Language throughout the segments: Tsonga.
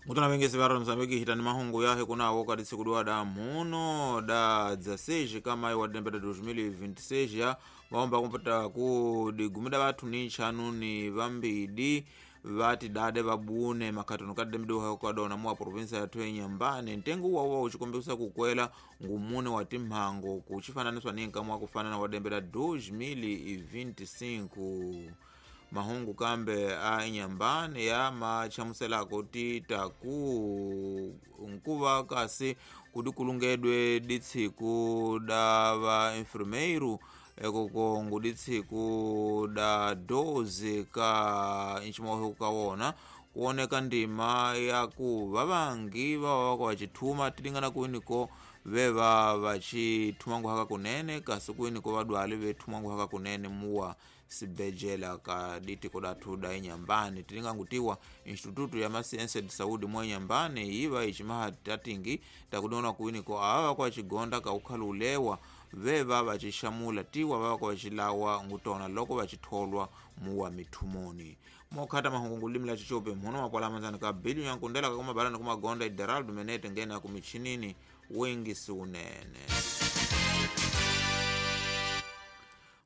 Mutana vengesi va Mozambique hitani mahungu yahe kunawo kati tsiku da muno da 16 kama wa dembe 2026 ya maomba kumpata ku digumida vathu ni nchanu ni vambidi vati dade vabune makhatono kadembe kadona muwa provinsa yathu enyambane ntengo uwawa uchikombesa kukwela ngumune wa timhango kuchifananiswa ni nkamwa kufanana wa dembe la 2025 mahungu kambe a inyambane ya machamuselako tita ku nkuva kasi kudikulungedwe ditsiku da va enfermeiro ekoko nguditsiku da 12 ka nchimohe kawona kuoneka ndima ya ku vavangi vava vako vachithuma tilingana kuiniko veva vachithuma nguhaka kunene kasi kuiniko vadwali vethuma nguhaka kunene muwa sibejela ka ditiko dathu da inyambane tilingangutiwa instituto ya masiense de saúde mwa inyambane iva ichimaha tatingi takudiona kuiniko ava kwa chigonda kaukhalulewa veva vacixamula tiwa vava kwa vacilawa ngutona loko vacitholwa muwa mithumoni mokhata mahungu ngulimi la chichope mhuno makwala manzani ka biliu yankundela kakumabalani kumagonda ideraldo menete ngene akumichinini wengisi unene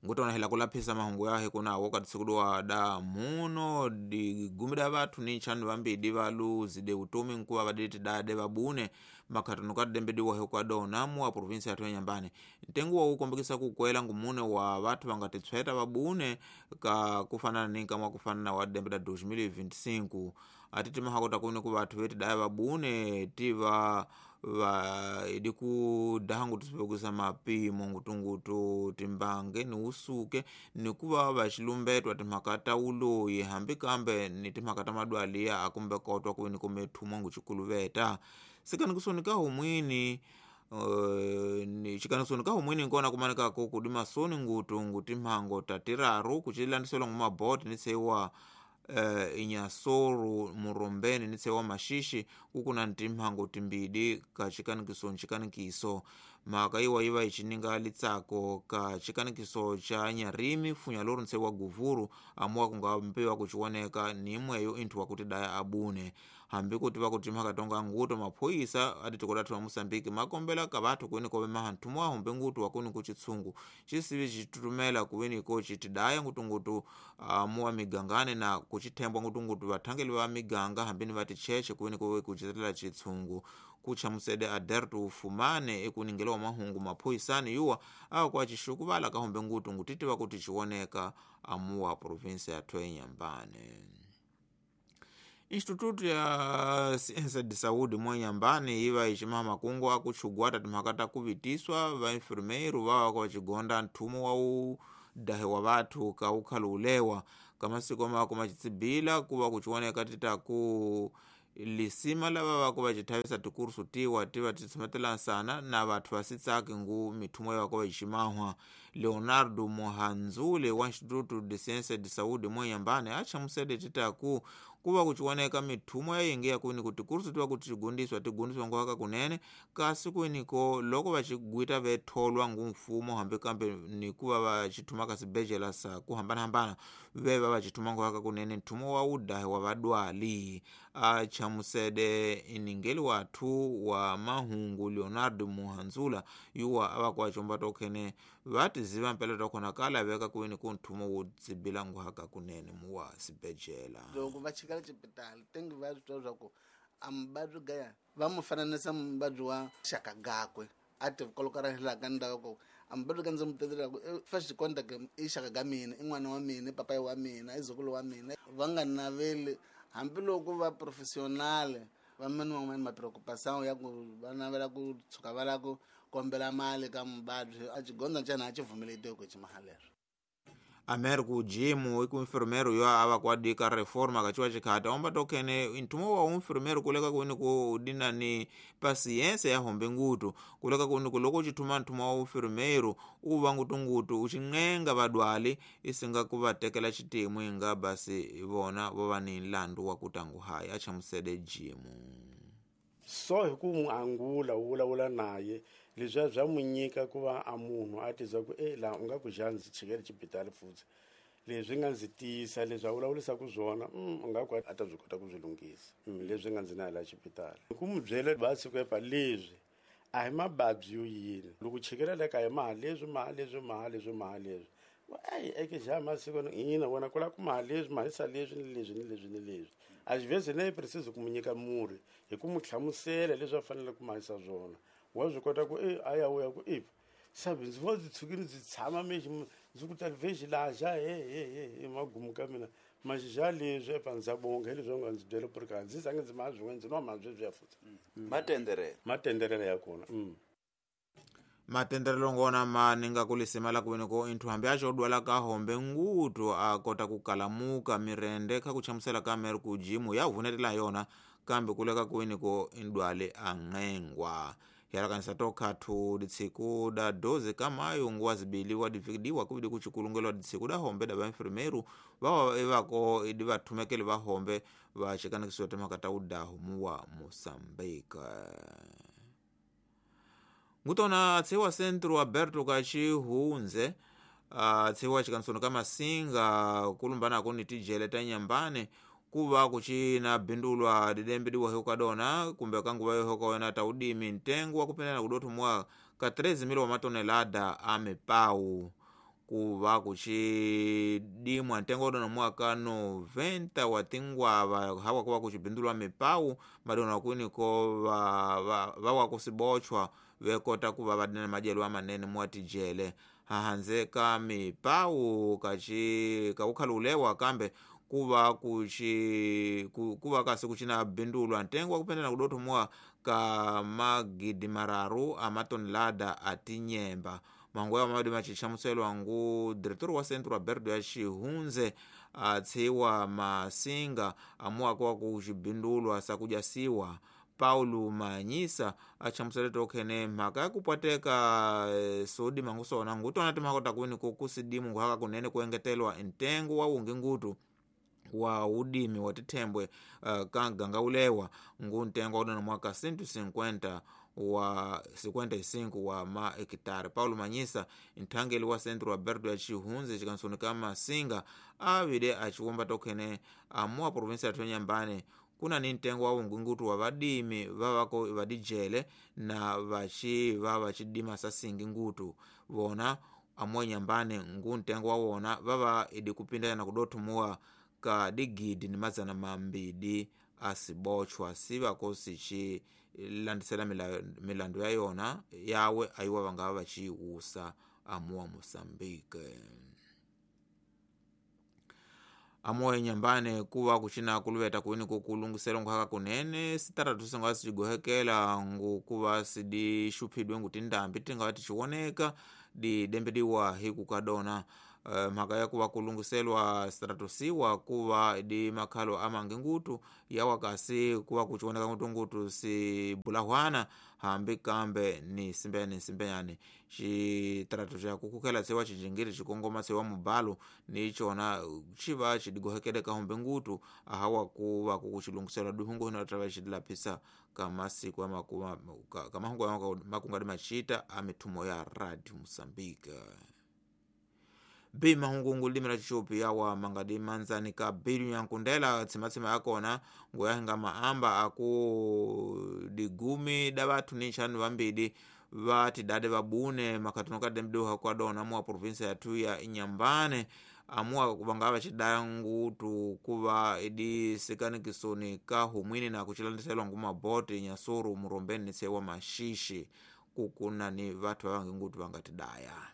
ngutona hela kulaphisa mahungu yahe kunawo kati da muno digumida vathu ni nchanu vambidi valuzide utomi nkuva vaditi dade vabune makhatono kadembe diwahe kwadona muwa provinsi yathu enyambane ntengo wa ukombekisa kukwela ngumune wa vathu vangatitsweta vabune ka kufanana ni nkamwa kufanana wa dembe da 2025 atiti mahakota kuni ku vathu veti daya vabune tiva va idi kudaha tusipekusa mapimo ngutungutu timbange ni usuke nikuva vaxilumbetwa timhaka ta uloyi hambi kambe ni timhaka ta madwaliya akumbe kotwa kuini kumethumwa ngucikuluveta sikanikusoni ka humwini ni chikanisoni ka humwini nkona kumanikako kudi masoni ngutu ngutimhango tatiraru kucilandiselwa ngumaboti nitseiwa inyasoru murombeni nitsewa mashishi kukuna ntimhango timbidi ka chikanikiso nchikanikiso mhaka iwa iva ichininga litsako ka chikanikiso cha nyarimi funya lori ntsewa guvuru amuwa kungampewa kuchioneka nimweyo inthu wakuti daya abune hambi kuti vakuti mhaka tonga nguto maphoyisa aditikodathu wa Mosambiki makombela ka vathu kuini kove maha nthumwa humbe ngutu wakuni kuchitsungu chisivi chitutumela kuwiniko chitidaya ngutungutu amuwa migangane na kuchithembwa ngutungutu vathangeli va miganga hambini vati cheche kuwini kowe kuchitela chitsungu kuchamusede aderto ufumane ekuningela mahungu maphoyisani yuwa akwa chixukuvala kahumbe ngutu ngutitiva kuti chioneka amuwa provinsia yathu enyambane Instituto ya Ciência de Saúde mwenyambane iva ichimaha makungu akuchugwata timhaka ta kuvitiswa vaenfermeiro vava kwa vachigonda nthumo wa udahe wa vathu ka ukhalulewa kamasiku mako machitsibila kuva kuchioneka titaku lisima lava vako vachithavisa tikursu tiwa tiva titshometelansana na vathu vasitsaki ngu mithumo yavako vachimahwa Leonardo Mohanzule wa Instituto de Ciência de Saúde mwenyambane achamusede titaku kuva kuchioneka mithumo yayingi yakuini kuti kursu tiva kuti tigundiswa tigundiswa nguhaka kunene kasi kuiniko loko vachigwita vetholwa ngumfumo hambi kambe nikuva vachithuma kasibejela sa kuhambanahambana veva vachithuma nguhaka kunene nthumo wa udahe wa vadwali achamusede iningeli wathu wa mahungu Leonardo Muhanzula yuwa avakuachomba tokhene vatiziva mpela tokhona kala veka kuini ku nthumo wo tsibila nguhaka kunene muwa sibejela loko va chikala xipitali tengi va swi twa swa ku a muvabyi gaya va mu fananisa muvabyi wa xaka gakwe a ti kolokarelaka ndaka ku a muvabyi ka ndzi mu tetelaka first contact i xaka ga mina i n'wana wa mina i papayi wa mina i zukulu wa mina va nga naveli hambiloko va professional va mani van'wani ma preocupação ya ku va navela ku tshuka va lava ku kombela mali ka muvabyi a xigondza ntsena a xi vumeletiwe ku ximahalero Americo Jimu iku enfermeiro yo ava kuadika reforma kachiwa chikhata omba tokhene nthumo wa enfermeiro kuleka kuini ku dina ni paciência ya hombe ngutu kuleka kuini ku loko uchithuma nthumo wa enfermeiro uva ngutungutu uchinqenga vadwali isinga kuvatekela xitimu inga basi vona vo va ni nlandu wa kutangu hayi achamusede Jimu so hi ku n'wi angula u vulavula naye leswiya bya n'wi nyika ku va a munhu a tizwa ku e laha u nga ku xa ndzi chikele xibitali futhi Leswi nga ndzi tiyisa leswi a vulavurisaka swona u nga ku a ta byi kota ku byi lunghisa leswi nga ndzi na la xipitali. Ku mu byela va siku epa leswi a hi mababyi yo yini loko chekela le ka hi maha leswi maha leswi maha leswi maha leswi ayi eke xa masiku ina wena ku lava ku maha leswi mahisa leswi ni leswi ni leswi ni leswi a xi vheze ne precise ku mu nyika murhi hi ku mu hlamusela leswi a fanele ku mahisa swona wa swi kota ku e a ya u ya ku e sabi ndzi vo ndzi tshukile ndzi tshama mexi ndzi ku talivexi laha xa he he he he magumu ka mina maxixa leswi epa ndza bonga hi leswi nga ndzi byela ku ri ka ndzi zange ndzi maha swin'we ndzi nwa maha sweswiya futhi matenderela matenderela ya kona matenderelo ngona maninga kulisimala kuveneko inthu hambi aco odwala kahombe ngutu akota kukalamuka mirende kha kuchamusela ka mere kujimu yavunetela yona kambe kuleka kuweneko indwale ang'engwa yalakanisa tokhathu ditsiku da 12 ka maio nguwa zibili wadivikidiwa kuvidi kucikulungelwa ditsiku da hombe da vainfirmeru vawa evako idi vathumekeli va hombe vacikanakisiwa timhaka ta udahu muwa Moçambique. Ngutona atsiwa centro Alberto Kachihunze atsiwa cikansono ka Masinga kulumbanako ni tijele ta Nyambane kuva kucina bindulwa didembe diwa kadona kumbe kanguva yohoka wena ta udimi ntengo wa kupendana kudothomwa ka 13,000 wa matonelada a mipau kuva kucidimwa ntengo wadona mwaka 90 wa tingwava hawa kuva kucibindulwa mipau madona kwiniko vawa kusibochwa vekota kuva vadina madyelo amanene mwatijele hahanze ka mipau kaci kaukhalulewa kambe kuva kuchi kuva kasi kuchina bindulwa ntengo wakupendana kudothomwa ka magidi mararu a matonelada a tinyemba mangu yawo mabedi macichamuselwa ngu diretor wa centro Alberto ya Xihunze atsiwa Masinga amuwako wa kucibindulwa sakujasiwa Paulo Manyisa achamusele tokhene mhaka yakupwateka sodi mangusona ngutona timhaka takwini kusidimu nguhaka kunene kuengetelwa ntengo wa wungi ngutu wa udimi wa tithembwe ka ganga ulewa ngu ntengo wa mwaka 150 wa 55 wa ma hekitare. Paulo Manyisa nthangeli wa centro Alberto ya Xihunze xikansoni ka Masinga avile aciwomba tokhene amuwa provinsia ya Nyambane kuna ni ntengo wa ungungutu wa vadimi vavako vadijele na vaci va vacidima sasingi ngutu vona amuwa Nyambane ngu ntengo wa wona vava idi kupindana na kudothumuwa ka digidi ni mazana mambidi asibochwa sivako sici landisela milandu ya yona yawe ayiwa vangava vaciwusa amuwa Moçambique. Amuwa Nyambane kuva kucina kuluveta kuini kukulungisela nkuhaka kunene sitaratu singava sicigohekela ngu kuva sidixuphidwe ngu tindambi tingava ticiwoneka didembediwa hiku kadona mhaka ya kuva kulungiselwa sitaratusiwa kuva di makhalo amangi ngutu yawa kasi kuva kuciwoneka ngutu ngutu sibulahwana hambi kambe ni simbeyani simbeyani xitaratu xa kukukhela tsiwa cijingiri cikongoma tsiwa mubalo ni cona civa cidigohekele kahombe ngutu ahawa kuva kukucilungiselwa duhungu hino tava cidilaphisa kamasiku kamahungu makungadi macita a mithumo ya Radio Moçambique. Bi mahungungu limi la chichupi yawa mangadi manzani ka bilu yankundela tsimatsima yakona ngoyahinga maamba aku digumi da vathu ni nxanu vambidi vatidade vabune makhatuno kadembiduha kwadona amuwa provinsia yathu ya Inyambane amuwa vangava vacidaya ngutu kuva idi sikanikisoni ka humwini na kucilandiselwa ngu maboti Nyasuru murombeni ni sewa Mashishi kukuna ni vathu vavangi ngutu vangatidaya.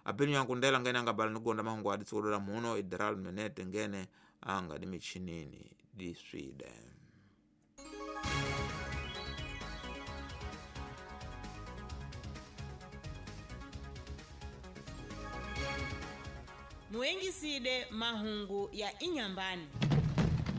Apinyu yankundela ngene angabala nikugonda mahungu adi tsikudola muno idral menete ngene anga di michinini di Sweden. Muengiside mahungu ya Inyambani.